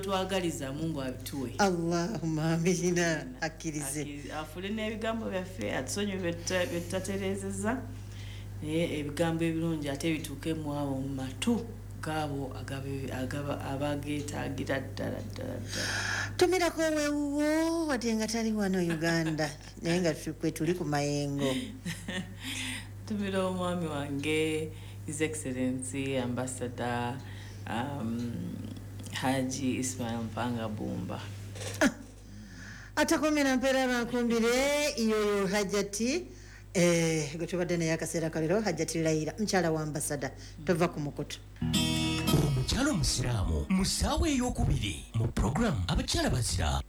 Byotwagaliza Mungu abituwe. Allahumma amina. Akkirize, afule n'ebigambo byaffe, atusonyiwe byetutatereezezza, naye ebigambo ebirungi ate bituuke mu abo mu matu gaabo abageetaagira ddala ddala ddala. Tumirako wewuwo wadde nga tali wano Uganda, naye nga kwe tuli ku mayengo. Tumira omwami wange, His Excellency Ambassador Haji Ismail Mpanga Bumba. Atakomera mpeera bankumbire iyoyo Hajati gwe tubadde naye akaseera kalero, Hajati Layira, mukyala wa ambasada. Tova ku mukutu. Omukyala omusiraamu mu ssaawa ey'okubiri mu puroguramu Abakyala Bazira.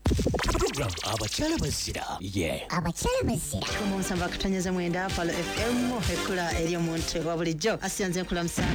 Puroguramu Abakyala Bazira ye Abakyala Bazira. 7.9 Falo FM, ekkula eri omuntu wa bulijjo. Asiyanze nkulamusaako.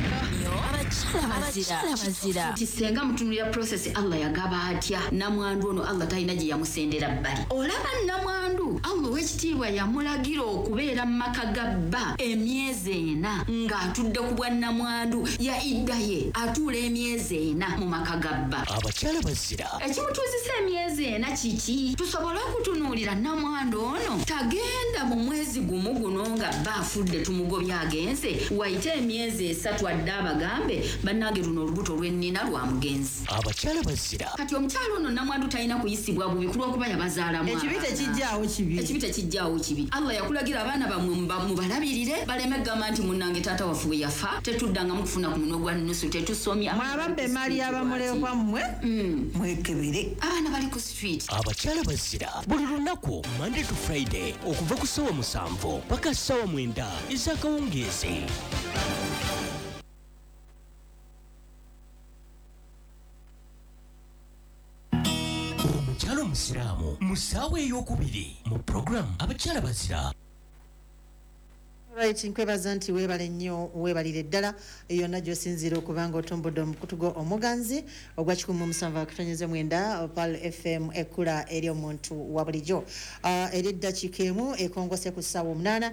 Abakyala Bazira. Nti senga mutunulira process, Allah yagaba atya namwandu ono? Allah talina gye yamusendera bbali. Olaba namwandu, Allah ow'ekitiibwa yamulagira okubeera mu maka ga bba emyezi 4 ng'atudde ku bwa namwandu ya idda ye, atuula emyezi 4 mu maka ga bba. Abakyala Bazira. Ekimutuuzisa emyezi 4 kiki? Tusobole okutunuulira namwandu ono tagenda mu mwezi gumu guno nga bba afudde tumugobye agenze, wayite emyezi 3 adde abagambe, "Bannange, luno olubuto lwennina lwa mugenzi." Abakyala Bazira. Kati omukyala ono namwandu talina kuyisibwa bubi kulwokuba yabazaalamu Ekibi abaana. Tekijjaawo kibi. Ekibi tekijjaawo kibi. Allah yakulagira abaana bammwe mubalabirire, baleme kugamba nti, "Munnange, taata waffe bwe yafa tetuddangamu kufuna ku munwe gwa nusu, tetusomye." Mwababba emaali y'abamulekwa mmwe, mwekebere. Abaana bali ku street. Abakyala Bazira buli lunaku Monday to Friday okuva ku ssaawa 7 paka ssaawa 9 ez'akawungeezi. Omukyala omusiraamu mu ssaawa ey'okubiri mu puroguramu Abakyala Bazira. Right, nkwebaza nti weebale nnyo, weebalire ddala yonna gy'osinziira okuba nga otumbudde omukutu gwo omuganzi ogwa 7.9 Pal FM, ekkula eri omuntu wa bulijjo. Eri eddakiika 1 ekongose ku ssaawa 8,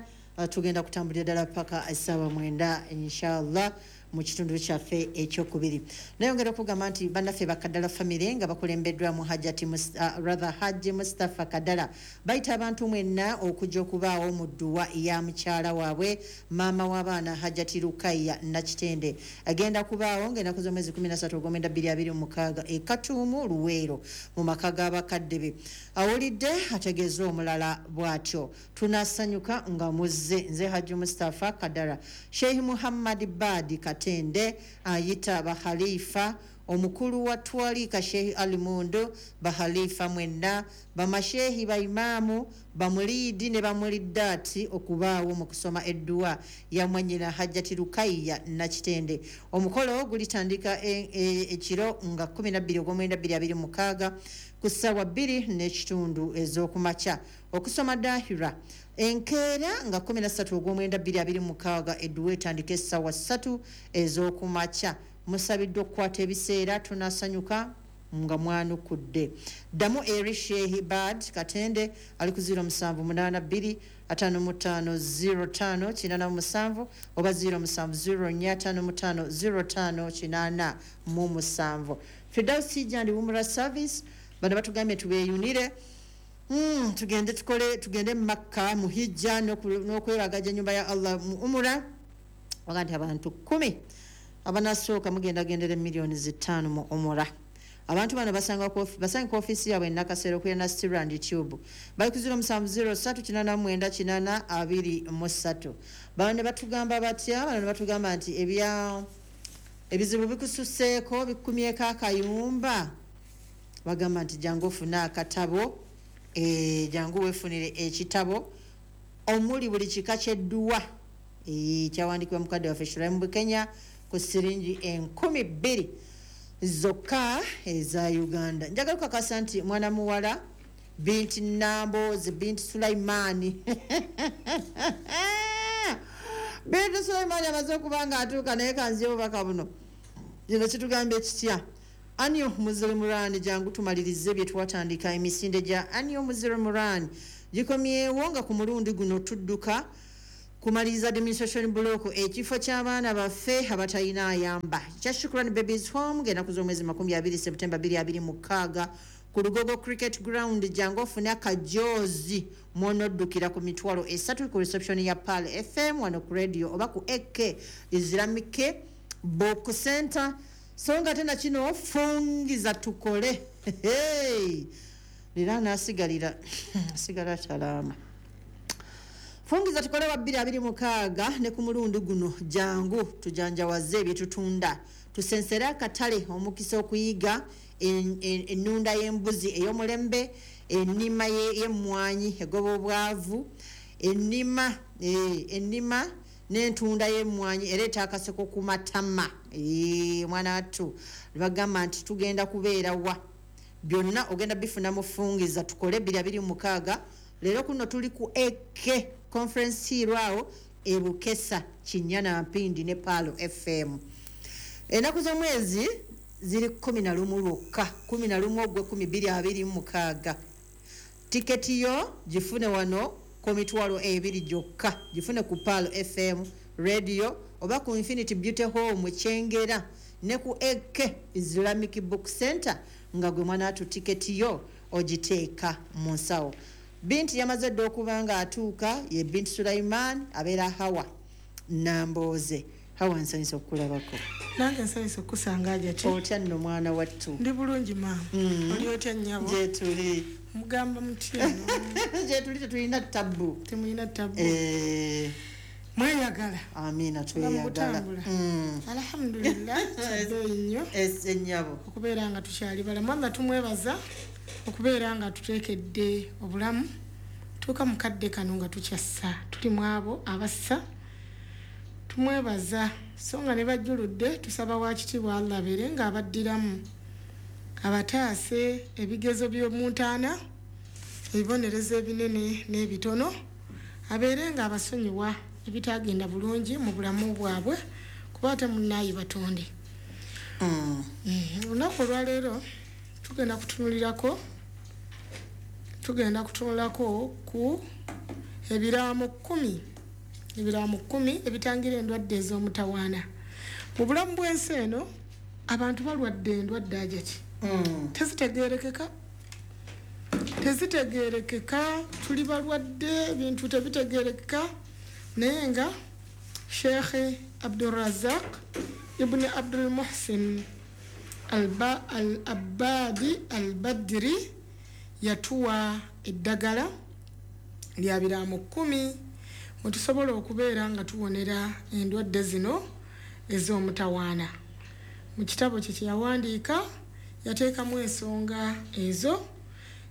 tugenda kutambulira ddala paka essaawa 9 inshallah mu kitundu kyaffe ekyokubiri. Nayongera okugamba nti bannaffe Bakadala family nga bakulembeddwamu Hajati rather Haji Mustapha Kadala bayita abantu mwenna okujja okubaawo mu dduwa ya mukyala waabwe, maama w'abaana, Hajati Lukaya Nakitende. Agenda kubaawo ng'ennaku z'omwezi 13 ogwomwenda 2026 e Katuumu, Luweero, mu maka g'abakadde be. Awulidde ategeeza omulala bw'atyo. Tunasanyuka nga muzze. Nze Haji Mustapha Kadara. Sheikh Muhammad Badi Katende ayita bakhalifa, omukulu wa twalika Sheikh Alimundo, bakhalifa mwenna, bamashehi, baimaamu, bamuliidi ne bamuliddaati okubaawo mu kusoma edduwa ya mwannyina Hajjati Lukayya Nakitende. Omukolo gulitandika ekiro nga 12 ogwomwenda 2026 ku ssaawa 2:30 ez'okumakya. Okusoma dahira enkeera nga 13 ogwomwenda 2026, edduwa etandika essaawa 3 ez'okumakya. Musabiddwa okukwata ebiseera. Tunasanyuka nga mwanukudde. Ddamu eri Shehi Bad Katende ali ku 0782 55 05 87 oba 0704 55 05 87. Firdausi Jandi Umra Service bano batugambye tubeeyunire, tugende tukole, tugende mu Makka mu hijja n'okwebagaja ennyumba ya Allah mu umura. Waga nti abantu 10 abanasooka mugenda gendera 5 miliyoni mu umura. Abantu bano basanga ku ofiisi yaabwe e Nakasero okulira na Strand Tube. Bali ku 0703 89 8 23. Bano ne batugamba batya? Bano ne batugamba nti ebya ebizibu bikususeeko, bikumyeko akayumba. Bagamba nti jangu ofune akatabo, jangu weefunire ekitabo omuli buli kika ky'edduwa, kyawandiikibwa mukadde waffe Shuraimu Bukenya ku siringi 2000 zokka eza Uganda. Njagala okukakasa nti mwana muwala Binti Nambozi, Binti Sulaimaani, Binti Sulaimaani amaze okuba nga atuuka, naye kanziye obubaka buno. Kino kitugambye kitya? Anio Muzirimurani, jangu tumalirize bye twatandika. Emisinde gya Anio Muzirimurani gikomyewo nga ku mulundi guno tudduka Kumaliriza demonstration block ekifo ky'abaana baffe abatalina ayamba kya Shukran Babies Home ng'ennaku z'omwezi 20 September 2026 ku Lugogo Cricket Ground. Jangu ofune akajoozi mwonoddukira ku mitwalo 3 ku reception ya Pearl FM wano ku radio oba ku AK Islamic Book Center. So nga tena kino fungiza tukole. Hey! Lira nasigalira sigala salama. Fungiza tukole wa 2026 ne ku mulundi guno jangu tujanjawaze byetutunda tusensere akatale omukisa okuyiga ennunda y'embuzi ey'omulembe, ennima y'emmwanyi egoba obwavu, ennima n'entunda y'emmwanyi ereeta akaseko ku matama. Mwana wattu bagamba nti tugenda kubeera wa byonna ogenda bifuna mufungiza tukole 2026. Leero kuno tuli ku AK Conference Hall awo e Bukesa Kinyana Mpindi ne Pearl FM. Ennaku z'omwezi ziri 11 lwokka, 11 ogwe 2026. Tiketi yo gifune wano ku mitwalo 2 gyokka, gifune ku Pearl FM radio oba ku Infinity Beauty Home Kyengera ne ku AK Islamic Book Center nga gwe mwana atu tiketi yo ogiteeka mu nsawo. Binti yamaze dda okuba nga atuuka ye Binti Sulaiman abeera Hawa Nambooze. Hawa, nsanyusa okukulabako. Nange nsanyusa okusanga Hajati. Otya nno mwana wattu? Ndi bulungi maama. Oli otya nnyabo? Gyetuli. Mugamba mutya? Gyetuli, tetulina tabbu. Temulina tabbu. Mweyagala? Amiina, tweyagala. Alhamdulillah, kyabbeeyi nnyo Ennyabo okubeera nga tukyali balamu. Allah tumwebaza okubeera nga tuteekedde obulamu tuuka mu kadde kano nga tukyassa, tuli mu abo abassa, tumwebaza. So nga ne bajjuludde tusaba wakitiibwa Allah abeere nga abaddiramu, abataase ebigezo by'omuntaana, ebibonerezo ebinene n'ebitono, abeere nga abasonyiwa ebitagenda bulungi mu bulamu bwabwe, kuba ate munnaayi batonde. Olunaku olwaleero tugenda kutunulako ku ebiraamo 10, ebiraamo 10 ebitangira endwadde ez'omutawaana. Mu bulamu bw'ensi eno abantu balwadde endwadde Hajati tezitegeerekeka, tuli balwadde, ebintu tebitegeerekeka. Naye nga Sheikh Abdulrazak ibn Abdul Muhsin Al-Abbadi Al-Badri yatuwa eddagala lya biraamo 10 mwe tusobola okubeera nga tuwonera endwadde zino ez'omutawaana. Mu kitabo kye kyeyawandiika yateekamu ensonga ezo,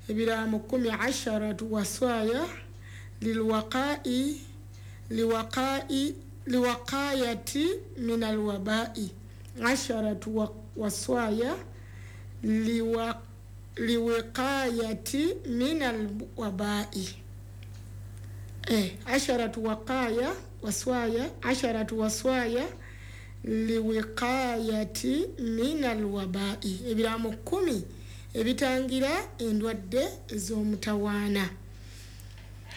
ebiraamo 10, asharatu waswaya lilwaqai liwaqai liwaqayati min alwabai, asharatu waswaya liwiqayati min alwabai, asharatu waqaya waswaya, asharatu waswaya liwiqayati min alwabai, ebiraamo 10 ebitangira endwadde ez'omutawaana.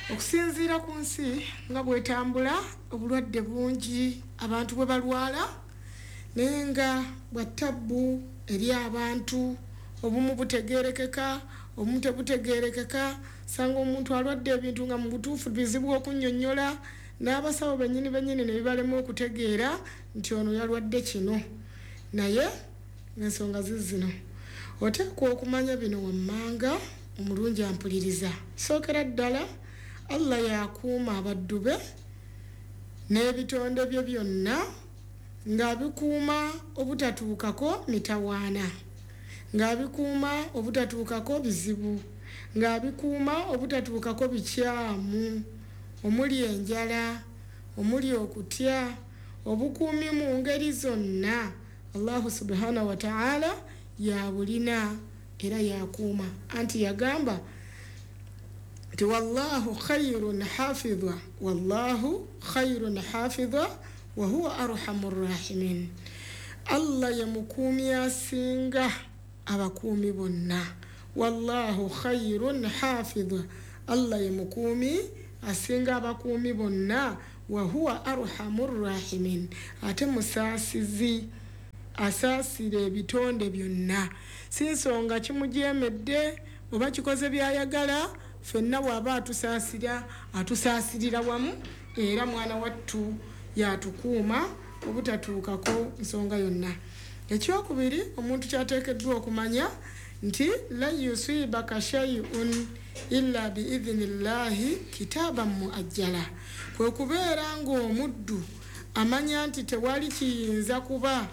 Okusinziira ku nsi nga bwetambula, obulwadde bungi abantu bwe balwala, naye nga bwa tabbu eri abantu, obumu butegeerekeka, obumu tebutegeerekeka. Sanga omuntu alwadde ebintu nga mu butuufu bizibu okunnyonnyola, n'abasawo bennyini bennyini ne bibalema okutegeera nti ono yalwadde kino. Naye ng'ensonga zizino oteekwa okumanya bino wammanga. Omulungi ampuliriza, sookera ddala Allah yakuuma abaddu be n'ebitonde bye byonna, ng'abikuuma obutatuukako mitawaana, ng'abikuuma obutatuukako bizibu, ng'abikuuma obutatuukako bikyamu omuli enjala, omuli okutya, obukuumi mu ngeri zonna. Allahu subhanahu wa ta'ala yabulina era yakuuma. Anti yagamba nti wallahu khairun hafidha, wallahu khairun hafidha wa huwa arhamur rahimin. Allah ye mukuumi asinga abakuumi bonna. Wallahu khairun hafidha, Allah ye mukuumi asinga abakuumi bonna, Wahuwa arhamu rrahimin, ate musaasizi, asaasira ebitonde byonna. Si nsonga kimujeemedde oba kikoze byayagala, ffenna bw'aba atusaasira atusaasirira wamu, era mwana wattu yatukuuma obutatuukako nsonga yonna. Ekyokubiri omuntu kyateekeddwa okumanya nti lan yusibaka shay'un illa biidhinillahi kitaban muajjala, kwe kubeera ng'omuddu amanya nti tewali kiyinza kuba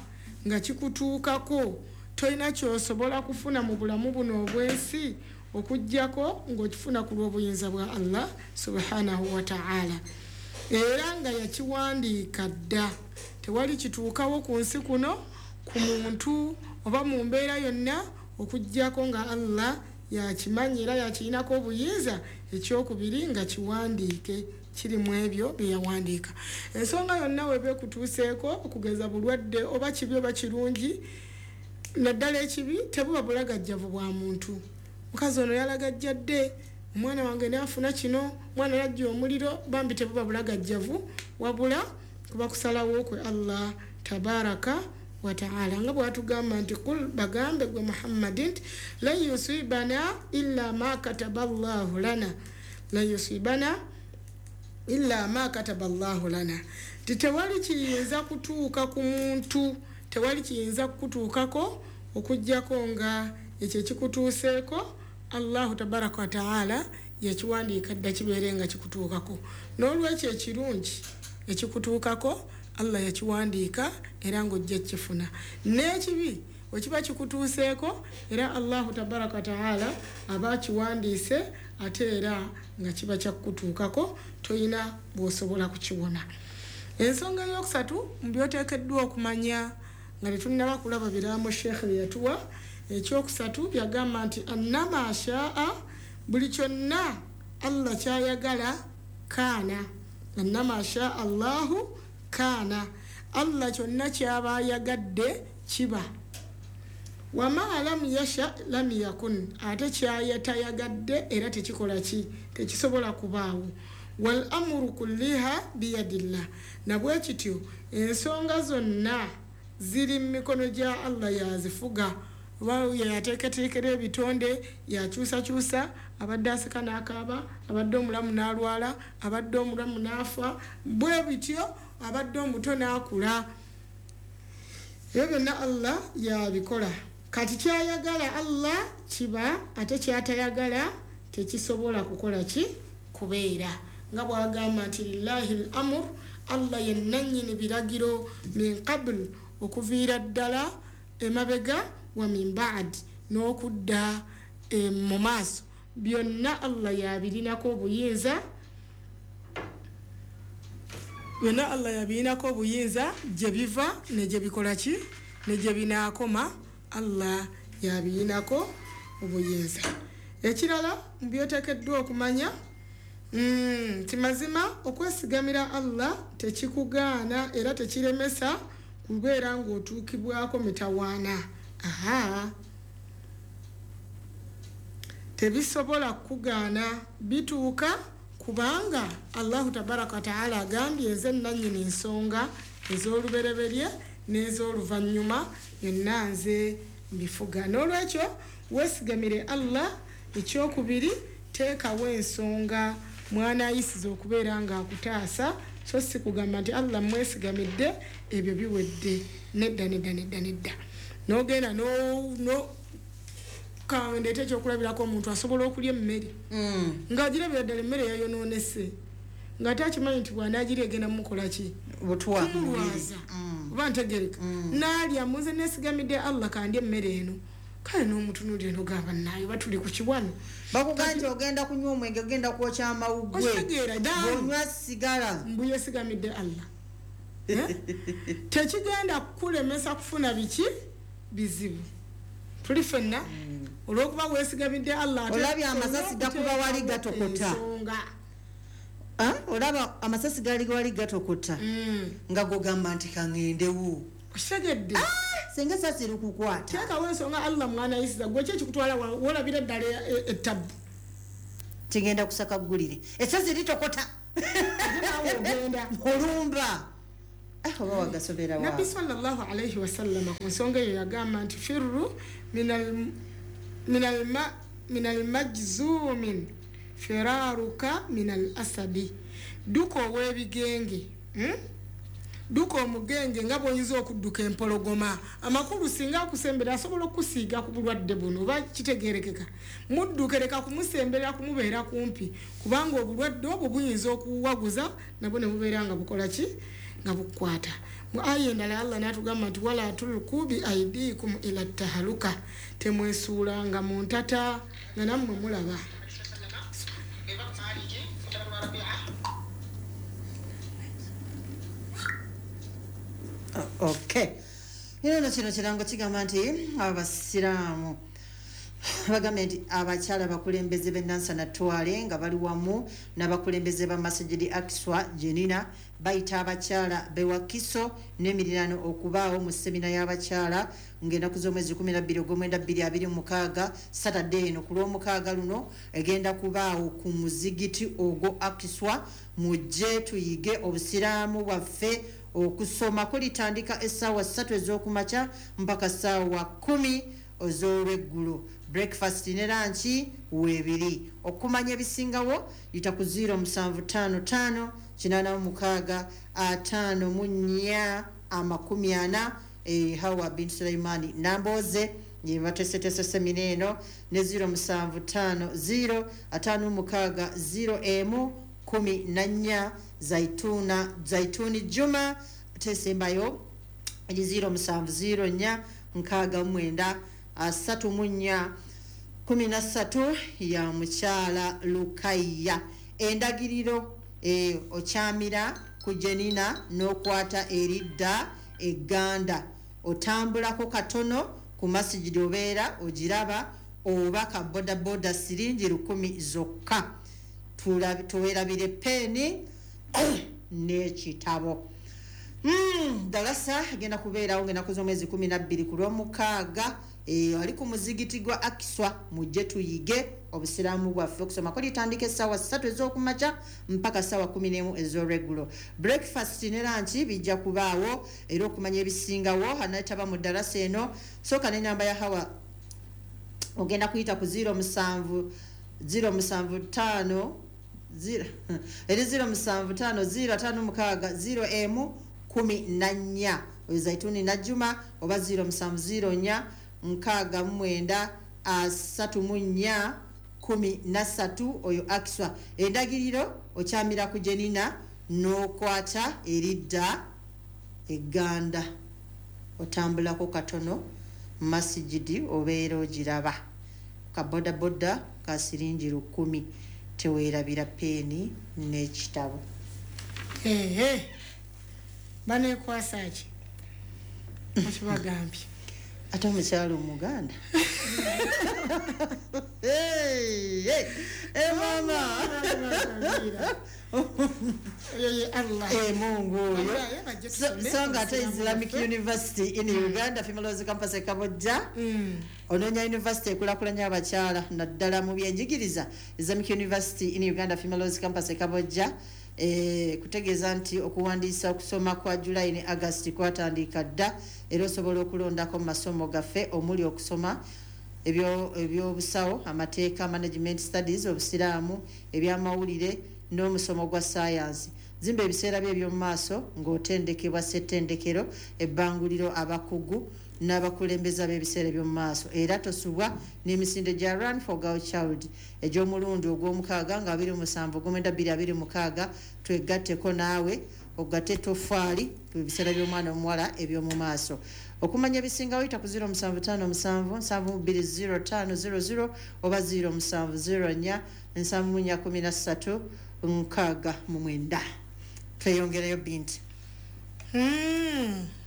nga kikutuukako, tolina ky'osobola kufuna mu bulamu buno obw'ensi okuggyako ng'okifuna ku lw'obuyinza bwa Allah subhanahu wa ta'ala, era nga yakiwandiika dda. Tewali kituukawo ku nsi kuno ku muntu oba mu mbeera yonna okuggyako nga Allah yakimanyi era yakirinako obuyinza. Ekyokubiri nga kiwandiike, kiri mu ebyo bye yawandiika. Ensonga yonna weba ekutuuseeko, okugeza bulwadde oba kibi oba kirungi, naddala ekibi, tebuba bulagajjavu bwa muntu. Mukazi ono yalagajjadde, omwana wange naafuna kino, omwana yajja omuliro, bambi tebuba bulagajjavu, wabula kuba kusalawo kwe Allah tabaraka wa ta'ala, nga bw'atugamba nti kul, bagambe gwe Muhammadi nti lan yusibana illa ma kataba Allahu lana, lan yusibana illa ma kataba Allahu lana, nti tewali kiyinza kutuuka ku muntu, tewali kiyinza kukutuukako okuggyako nga ekyo ekikutuuseeko Allahu tabaraka wa ta'ala yakiwandiika dda kibeere nga kikutuukako. N'olwekyo ekirungi ekikutuukako Allah yakiwandiika era ng'ojja kukifuna, n'ekibi wekiba kikutuuseeko era Allahu tabaraka wa ta'ala aba akiwandiise ate era nga kiba kyakutuukako, toyina bw'osobola kukiwona. Ensonga eyokusatu mu by'oteekeddwa okumanya nga tetunnaba kulaba biraamo Sheikh bye yatuwa, ekyokusatu yagamba nti annama shaa, buli kyonna Allah kyayagala kaana, annama shaa Allahu kaana, Allah kyonna kyaba ayagadde kiba. Wama lam yasha lam yakun, ate kyayatayagadde era tekikola ki, tekisobola kubaawo. Wal amru kulliha biyadillah, na bwe kityo ensonga zonna ziri mu mikono gya Allah, yazifuga. Yateekateekera ebitonde, yakyusakyusa, abadde aseka n'akaaba, abadde omulamu n'alwala, abadde omulamu n'afa, bwe bityo abadde omuto n'akula, ebyo byonna Allah yabikola. Kati kyayagala Allah kiba, ate kyatayagala tekisobola kukola ki, kubeera. Nga bw'agamba nti lillahi l-amur, Allah ye nannyini biragiro, min qabl, okuviira ddala emabega, wa min ba'd, n'okudda mu maaso, byonna Allah yabirinako obuyinza, byonna Allah yabirinako obuyinza, gye biva ne gye bikola ki, ne gye binaakoma, Allah yabirinako obuyinza. Ekirala mu byoteekeddwa okumanya nti mazima okwesigamira Allah tekikugaana era tekiremesa kubeera ng'otuukibwako mitawaana. Aha, tebisobola kukugaana, bituuka kubanga Allahu tabaraka wa ta'ala agambye nze nannyini ensonga ez'olubereberye n'ez'oluvannyuma, yonna nze mbifuga. N'olwekyo weesigamire Allah. Ekyokubiri, teekawo ensonga mwana ayisiza okubeera ng'akutaasa, so si kugamba nti Allah mwesigamidde ebyo biwedde, nedda nedda nedda nedda. N'ogenda ndeeta ekyokulabirako, omuntu asobola okulya emmere ng'agirabira ddala emmere yayonoonese, ng'ate akimanyi nti bw'anaagirya egenda mumukola ki, kumulwaza, oba ntegereka, n'alya muze neesigamidde Allah kandya emmere eno. Kale n'omutunuulira n'ogamba naayo batuli ku kiwano, bakugamba nti ogenda kunywa omwenge, ogenda kwokya amawuggwe, okitegeera, bw'onywa sigala, mbu yeesigamidde Allah. Tekigenda kukulemesa kufuna biki bizibu, tuli ffenna olw'okuba weesigamidde Allah. Olabye amasasi gakuba wali gatokota, olaba amasasi gali wali gatokota, nga gogamba nti kaŋŋendewo, okitegedde, senga esasi erikukwata. Teekawo ensonga Allah mwana ayisiza, gwe ki ekikutwala wolabira ddala ettabu, kigenda kusaka ggulire, esasi litokota Ate naawe ogenda Olumba. Oba wagasobera wa. Nabbi sallallahu alaihi wasallama ku nsonga eyo yagamba nti firru min almajzumin firaruka min al asadi, dduka ow'ebigenge, Dduka omugenge nga bw'oyinza okudduka empologoma. Amakulu singa akusembera asobola okukusiiga ku bulwadde buno, oba kitegeerekeka, mudduke, leka kumusemberera, kumubeera kumpi, kubanga obulwadde obwo buyinza okuwaguza nabwo ne bubeera nga bukola ki, nga bukukwata. Mu aya endala Allah n'atugamba nti wala tulku bi aidikum ila tahaluka, temwesuulanga mu ntata nga nammwe mulaba. Okay. Ino kino kirango kigamba nti abasiraamu bagambye nti abakyala abakulembeze b'e Nansana Twale nga bali wamu n'abakulembeze ba Masjidi Aqsa Jenina bayita abakyala b'e Wakiso n'emiriraano okubaawo mu semina y'abakyala ng'ennaku z'omwezi 12 ogw'omwenda 2026 Saturday eno ku Lwomukaaga luno egenda kubaawo ku muzigiti ogwo Aqsa. Mujje tuyige obusiraamu bwaffe. Okusoma kulitandika essaawa 3 ez'okumakya mpaka ssaawa 10 ez'olweggulo. Breakfast ne lunch weebiri. Okumanya ebisingawo yita ku 0755 86 54 40, Hawa bin Suleimani Namboze ye bateeseteese semina eno, ne 0750 56 0 14 Zaituni Juma tesembayo eri 0704 69 34 13 ya mukyala Lukaya. Endagiriro okyamira ku Jenina n'okwata eridda egganda, otambulako katono ku masijidi obeera ogiraba, oba ka bodaboda siringi 10 zokka. Tuwerabire peeni n'ekitabo. Dalasa agenda kubeerawo ng'ennaku z'omwezi 12 ku Lwomukaaga, ali ku muzigiti gwa Aqsa. Mujje tuyige obusiraamu bwaffe. Okusoma kulitandika essaawa 3 ez'okumakya mpaka ssaawa 11 ez'olweggulo. Breakfast ne lunch bijja kubaawo. Era okumanya ebisingawo anaetaba mu ddalasa eno, sooka n'ennamba ya Hawa ogenda kuyita ku 07 075 0 eri 0750 56 0 14, oyo Zaituni Najjuma, oba 0704 69 34 13, oyo Aqsa. Endagiriro okyamira ku Jenina n'okwata eridda egganda, otambulako katono masijidi obeera ogiraba. Ka bodaboda ka siringi 10. Teweerabira peeni n'ekitabo. Baneekwasa ki okibagambye? Ate omukyala omuganda mama Mungu oyo. So nga ate Islamic University in Uganda Females Campus e Kabojja, onoonya university ekulaakulanya abakyala naddala mu byenjigiriza. Islamic University in Uganda Females Campus e Kabojja kutegeeza nti okuwandiisa okusoma kwa July ne August kwatandika dda, era osobola okulondako mu masomo gaffe omuli okusoma ebyobusawo, amateeka, management studies, obusiraamu, ebyamawulire n'omusomo gwa science. Zimba ebiseera bye eby'omu maaso ng'otendekebwa ssettendekero, ebbanguliro, abakugu n'abakulembeze b'ebiseera eby'omu maaso. Era tosubwa n'emisinde gya Run for Girl Child egy'omulundi ogw'omukaaga nga 27 ogw'omwenda 2026. Twegatteko naawe ogatte toffaali ku biseera by'omwana omuwala eby'omu maaso. Okumanya ebisingawo yita ku 0757 72 0500 oba 0704 74 13 69. Tweyongereyo binti.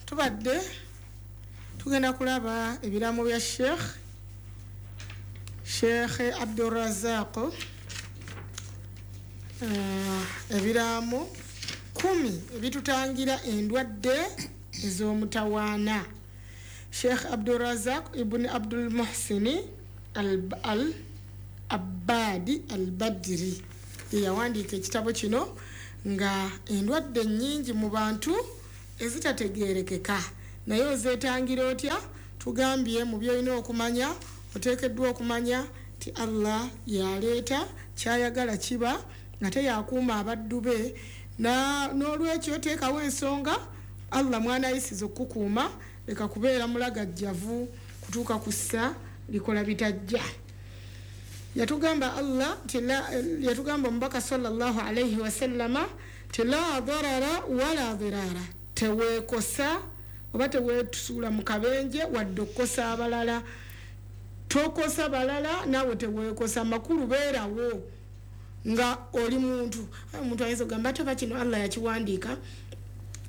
Tubadde tugenda kulaba ebiraamo bya Sheikh Abdurrazaq, ebiraamo 10 ebitutangira endwadde ez'omutawaana. Sheikh Abdurrazaq ibn Abdul Muhsini al Abbadi al Badri ye yawandiika ekitabo kino. Nga endwadde nnyingi mu bantu ezitategeerekeka, naye ozeetangira otya? Tugambye mu byolina okumanya, oteekeddwa okumanya nti Allah yaleeta kyayagala kiba, ate yakuuma abaddu be. N'olwekyo teekawo ensonga Allah mwanayisiza okukukuuma, leka kubeera mulagajjavu kutuuka ku ssa likola bitajja. Yatugamba Allah nti yatugamba omubaka sallallahu alaihi wasallama ti la darara wala dirara, teweekosa oba teweetusuula mu kabenje wadde okukosa abalala. Tokosa balala naawe teweekosa, makulu beerawo nga oli muntu. Omuntu ayinza okugamba ate oba kino Allah yakiwandiika,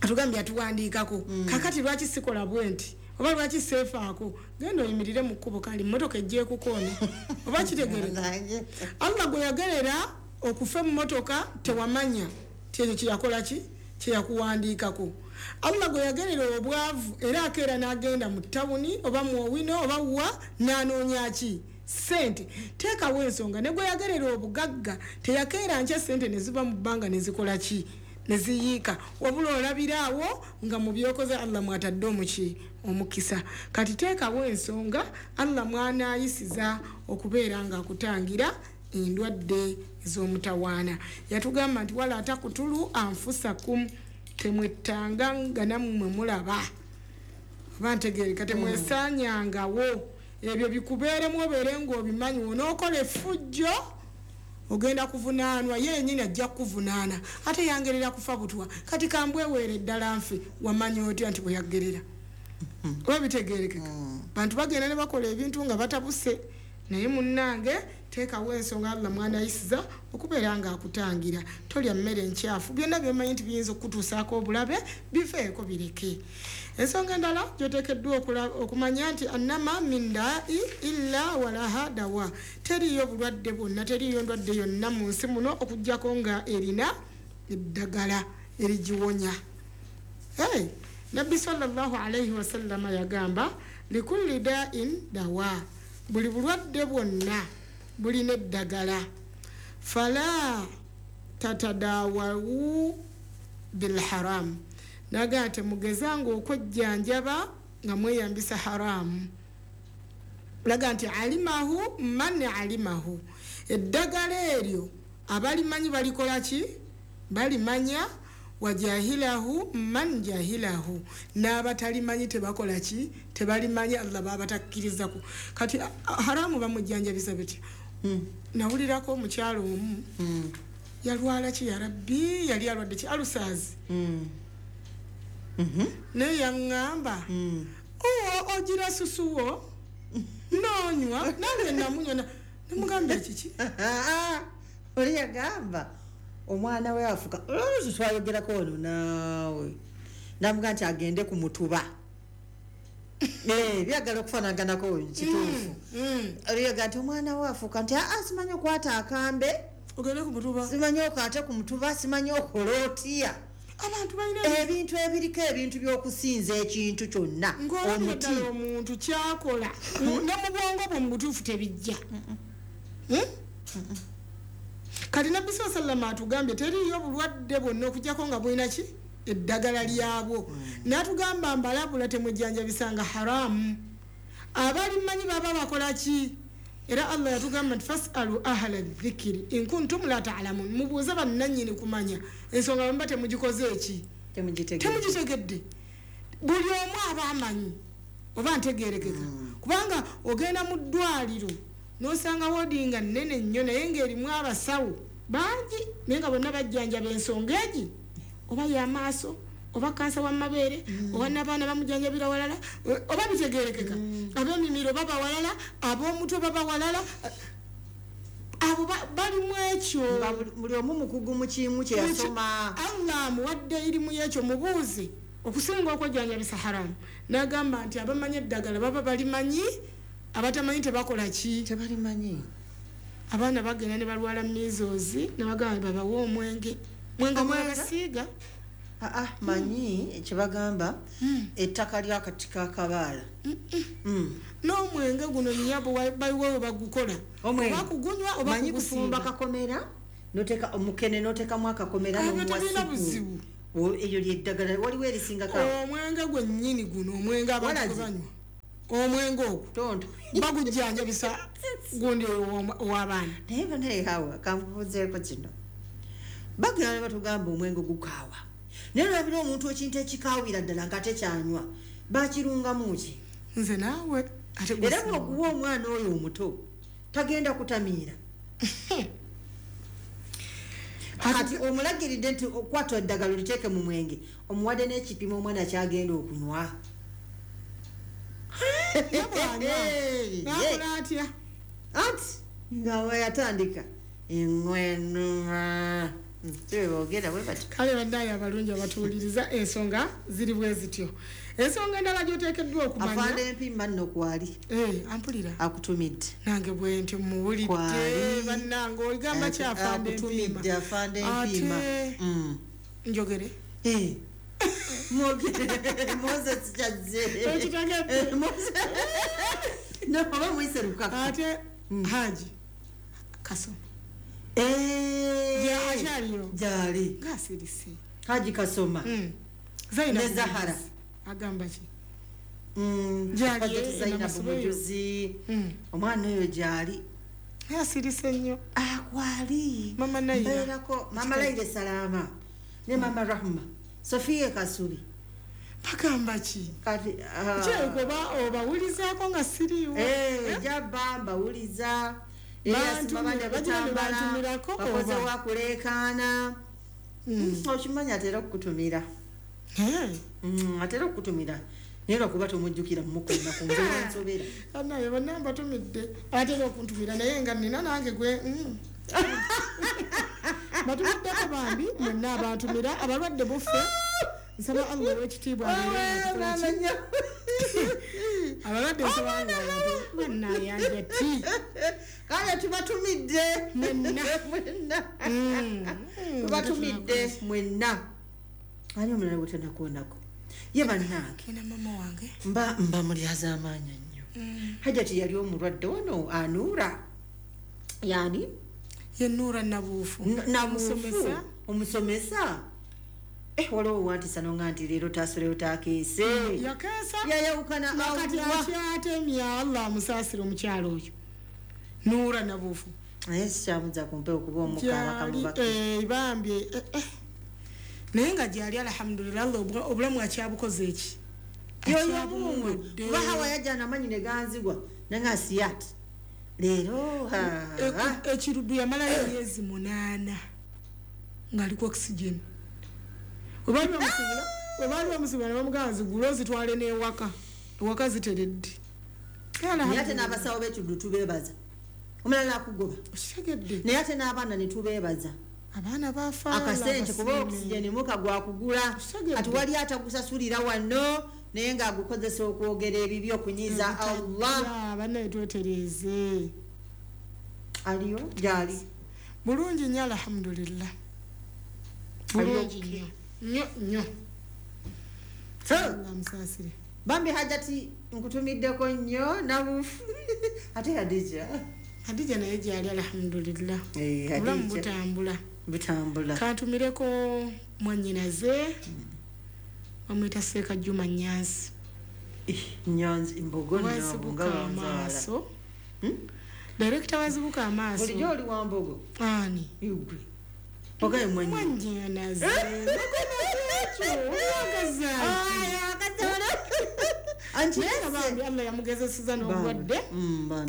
atugambye atuwandiikako, kakati lwaki sikola bwe nti oba lwaki seefaako? Genda oyimirire mu kkubo, kali mmotoka ejja ekukoona oba kitegereka. Allah gwe yagerera okufa emmotoka tewamanya ti ekyo kyeyakola ki kyeyakuwandiikako. Allah gwe yagerera obwavu era akeera n'agenda mu tawuni oba mu owino oba wa n'anoonya ki sente. Teekawo ensonga. Ne gwe yagerera obugagga teyakeera nkya sente ne ziva mu bbanga ne zikola ki ne ziyiika, wabula olabiraawo nga mu byokoze Allah mwatadde omuki omukisa. Kati teekawo ensonga Allah mwanaayisiza okubeera ng'akutangira endwadde ez'omutawaana. Yatugamba nti wala takutulu anfusakum, temwettanga nga nammwe mulaba oba ntegeereka, temwesaanyangawo. Ebyo bikubeeremu obeere ng'obimanyi. Onookola effujjo ogenda kuvunaanwa, ye yennyini ajja kukuvunaana, ate yangerera kufa butwa, kati kambweweere eddala nfe. Wamanya otya nti bwe yagerera? Oba bitegeerekeka. Bantu bagenda ne bakola ebintu nga batabuse, naye munnange teekawo ensonga Allah mwanayisiza okubeera ng'akutangira. Tolya mmere nkyafu, byonna byomanyi nti biyinza okukutuusaako obulabe biveeko, bireke. Ensonga endala gyoteekeddwa okumanya nti annama min daai illa walaha dawa, teriiyo bulwadde bwonna, teriiyo ndwadde yonna mu nsi muno okuggyako nga erina eddagala erigiwonya. Hey, Nabbi sallallahu alaihi wasallama yagamba likulli da'in dawa, buli bulwadde bwonna bulina eddagala. Fala tatadawawu bilharam, naga temugezanga okwejjanjaba nga mweyambisa haramu. Laga nti alimahu man alimahu, eddagala eryo abalimanyi balikola ki? Balimanya. Wajahilahu man jahilahu, n'abatalimanyi tebakola ki? Tebalimanyi, Allah babatakkirizaku. Kati haramu bamujjanjabisa bitya? Nawulirako omukyalo omu yalwala ki, ya Rabbi, yali alwadde ki, alusaazi. Naye yaŋŋamba ogira susuwo noonywa, nange namunywa nemugamba ekiki. Oli yagamba omwana we afuka oluusi twayogerako wano naawe, namuga nti agende ku mutuba. Byagala okufaanaganako kituufu. Oliyaga nti omwana we afuuka nti aa simanyi okwata akambe ogende ku mutuba, simanyi okwate ku mutuba, simanyi okola otya. Abantu balina ebintu ebiriko ebintu by'okusinza ekintu kyonna omuti omuntu kyakola ne mu bwongo bwe mu butuufu tebijja. Kati Nabbi sallallahu alaihi wasallam atugambye teriiyo bulwadde bwonna okuggyako nga bulina ki eddagala lyabwo. N'atugamba mbalabula temwejjanjabisanga haramu, abalimanyi baba bakola ki? Era Allah yatugamba nti fasalu ahla dhikiri in kuntum la ta'lamun, mubuuze bannannyini kumanya ensonga bamba temugikoze eki temugitegedde. Buli omu aba amanyi oba ntegeerekeka, kubanga ogenda mu ddwaliro n'osanga woodi nga nnene nnyo naye ng'erimu abasawo bangi, naye nga bonna bajjanjaba ensonga egi oba y'amaaso oba kansa w'amabeere oba n'abaana bamujjanjabira walala oba bitegeerekeka, ab'emimiro baba walala, ab'omutwe baba walala, abo balimu ekyo. Buli omu mukugu mu kimu kye yasoma. Allah amuwadde erimu y'ekyo, mubuuze okusinga okwejjanjabisa haramu. N'agamba nti abamanyi eddagala baba balimanyi, abatamanyi tebakola ki? Tebalimanyi. Abaana bagenda ne balwala measles ne bagamba babawe omwenge, mwenge mwabasiiga. Manyi kyebagamba ettaka ly'akati k'akabaala. N'omwenge guno nnyabo baliwo we bagukola, oba kugunywa oba manyi kufumba kugusiiga. Kakomera Noteka omukene, notekamu akakomera. Ebyo N'omuwa tebirina supu. buzibu. Eryo lyeddagala, waliwo erisingako awo? Omwenge gwennyini guno, omwenge abantu Walazi. gwe banywa, omwenge ogwo Tonto. bagujjanjabisa gundi ow'abaana. Naye banaye, hawa, kankubuuzeeko kino. Bagenda ne batugamba omwenge gukaawa, naye olabira omuntu ekintu ekikaawira ddala nga tekyanywa, bakirungamu ki? Nze naawe ate Era bwoguwa omwana oyo omuto tagenda kutamiira. Kati omulagiridde nti okwata eddagala oliteeke mu mwenge, omuwadde n'ekipimo omwana kyagenda okunywa. Bw'anywa, nakola atya? Anti nga weyatandika eŋwenuma, tebogera bwe bati. Kale bannaye abalungi abatuwuliriza, ensonga ziri bwe zityo. Ensonga endala gyoteekeddwa okumanya. Afande Empima nno kwali. Eh, ampulira. Akutumidde. Nange bwe ntyo muwulidde. Kwali. Bannange, ogamba ki afande Empiima? Akutumidde afande Empiima. Ate njogere. Eh. Mwogere, Moses kyazze. Ekitegedde. Eh, No, oba muyise lukaka. Ate Haji Kasoma. Eh. Akyaliyo? Gyali. Ngaasirise. Haji Kasoma. Zainabu. Ne Zahara. Mujuzi. Agamba ki? Gyali, Hajati Zainabu. Namasuba eyo. Mujuzi. Omwana oyo gyali. Asirise nnyo. Akwali. Mama Naira. Mbeerako mama Laire Salama ne mama Rahma Sofia Kasubi. Bagamba ki? Kati Kirabika oba obawulizaako nga siriiwo. Eh, jaba mbawuliza. Bantumira, bagira ne bantumirako bakoze oba? Wakuleekaana. Okimanyi atera okukutumira. Atera okukutumira, naye lwakuba tomujjukira mumukuuma ku nze wansobera. Naye bonna mbatumidde, atera okuntumira, naye nga nina nange gwe Batumiddeko bambi mwenna abantumira. Abalwadde buffe, nsaba Allah ow'ekitiibwa abeere nga atukola ki? Abalwadde nsaba Allah bannayanja ti. Kale tubatumidde. Mwenna. Mwenna tubatumidde mwenna. Ani omulala gwetenakuonako ye bannange? Ina mama wange. Mba mulyaza amaanya nnyo. Hajati yali omulwadde wano, Anuura yani. Ye Nuura Nabuufu. Nabuufu. Omusomesa. Omusomesa. Eh, waliwo wantisa nonga nti leero tasuleyo takeese. Yakeesa. Yayawukana. Nakati Allah. akyatemya, Allah amusaasire omukyalo oyo Nuura Nabuufu. Naye sikyamuza kumpe okuba omukaaba Gyali, kamubaka. eh, bambi, eh, eh. Naye nga gyali, alhamdulillah, Allah obulamu akyabukoze eki. Yoyo mungu. Akyabuwadde. Kuba Hawa yajja namanyi ne ganzigwa nanga siyat leero ha. Ekiruddu yamalayo emyezi 8 ng'ali ku oxygen. Webaali bamusibira ne bamugamba zigule ozitwale n'ewaka, ewaka ziteredde. Naye ate n'abasawo b'ekiddu tubeebaza, omulala akugoba. Okitegedde? Naye ate n'abaana ne tubeebaza. Abaana bafa. Akasente, kuba oxygen muka gwakugula. Okitegedde? Kati wali atagusasulira wano naye ng'agukozesa okwogera ebibi, okunyiiza Allah. Bannaye, twetereeze. Aliyo gyali? Bulungi nnyo, alhamdulillah. Ali Bulungi okay. nnyo nnyo nnyo. So, Allah amusaasire. Bambi Hajati nkutumiddeko nnyo Nabufu. Ate Hadija? Hadija naye gyali, alhamdulillah. Eh, obulamu Hadija. butambula. Butambula. Kantumireko mwannyinaze, bamwyita Seeka Juma Nyanzi. Eh, Nyanzi mbogo nno, Wazibuka nga wanzaala. amaaso, direkita wazibuka amaaso. Bulijjo oli wa mbogo. Ani? Igwe ogaye mwanyi. Mwannyinaze Anti bambi Allah yamugezeseza n'obulwadde.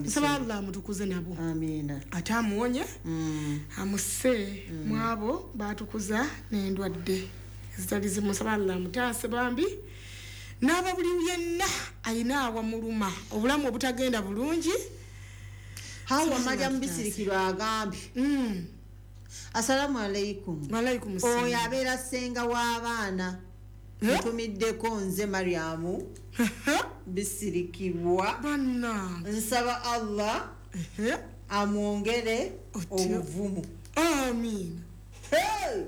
Nsaba Allah amutukuze nabo. Amiina. Ate amuwonye, amusse mu abo batukuza n'endwadde ezitali zimu. Nsaba Allah amutaase bambi n'aba buli yenna ayina awamuluma, obulamu obutagenda bulungi. Hawa Mariam Bisirikirwa agambye, asalamu alaikum. Walaikum salam. Oyo abeera ssenga w'abaana. Eh? Ntumiddeko nze Mariamu Bisirikirwa. Bannange. Nsaba Allah Ehe. amwongere Otyo. obuvumu. Amiina. Hey!